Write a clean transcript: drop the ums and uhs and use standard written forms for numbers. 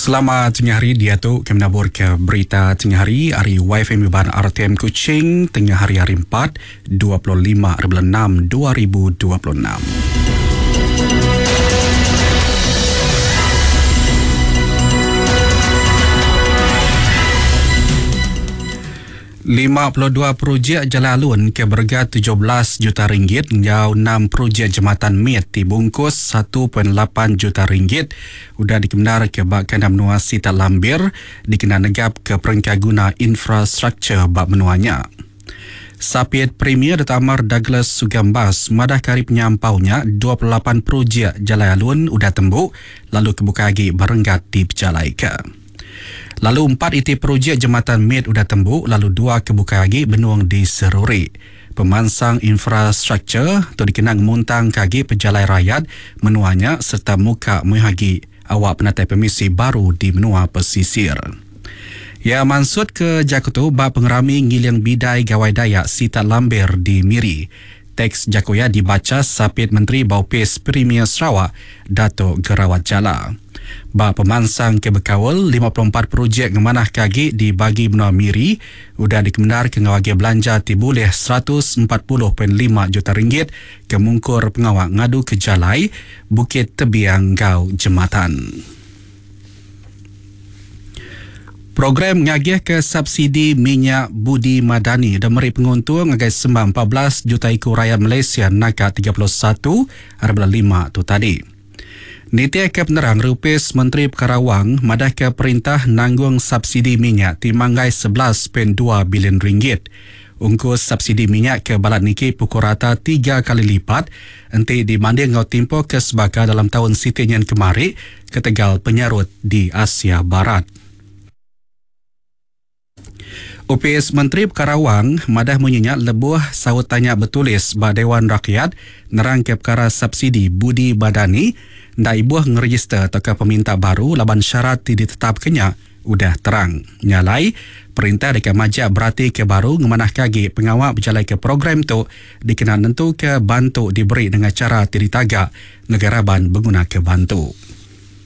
Selamat tengah hari diatu kami nabur ke berita tengah hari ari YFM Iban RTM Kuching tengah hari hari 4 25 6 2026. 52 projek jalai alun ke berega 17 juta ringgit enggau 6 projek jematan mit ti bungkus 1.8 juta ringgit udah dikemendarka ba kandang menua Sitak Lambir dikena negapka perengka guna infrastruktur ba menua nya. Sapit Premier Datuk Amar Douglas Sugambas madahka ari penyampau nya 28 projek jalai alun udah tembu lalu ke bukai agi ba renggat dipejalaika. Lalu empat iti projek jematan mit udah tembu lalu dua ke bukai agi benung diseruri. Pemansang infrastruktur tu dikena ngemuntangka agi pejalai rayat menua nya sereta muka mayuh agi awak penatai pemisi baru di menua pesisir. Iya mansutka jaku tu ba pengerami Ngiling Bidai Gawai Dayak Sitak Lambir di Miri. Teks jaku iya dibacha Sapit Menteri ba Opis Premier Sarawak, Datuk Gerawat Jala. Ba pemansang ke bekaul, 54 projek ngemanahka agi di bagi menua Miri udah dikemendarka enggau agih belanja ti bulih 140.5 juta ringgit ke mungkur pengawa ngaduka jalai, bukit tebiang enggau jematan. Program ngagihka subsidi minyak Budi Madani udah meri penguntung ngagai sembah 14 juta iku rayat Malaysia naka 31 ari bulan lima tu tadi. Nitihka penerang ari Opis Menteri Pekara Wang madahka perintah nanggung subsidi minyak ti manggai 11.2 bilion ringgit. Ungkus subsidi minyak ke balat niki pukul rata tiga kali lipat enti dibanding enggau timpuh ke sebaka dalam taun siti nyin kemari ketegal penyarut di Asia Barat. Opis Menteri Pekara Wang madah munyi nya lebuh saut tanya betulis ba Dewan Rakyat nerangka pekara subsidi Budi Badani enda ibuh ngerejister tauka peminta baru laban syarat ti ditetapka nya udah terang. Nya alai, perintah deka majak beratika baru ngemanahka agi pengawa bejalaika program tu dikena nentuka bantu diberi nengah chara ti ditaga ngagai raban begunaka bantu.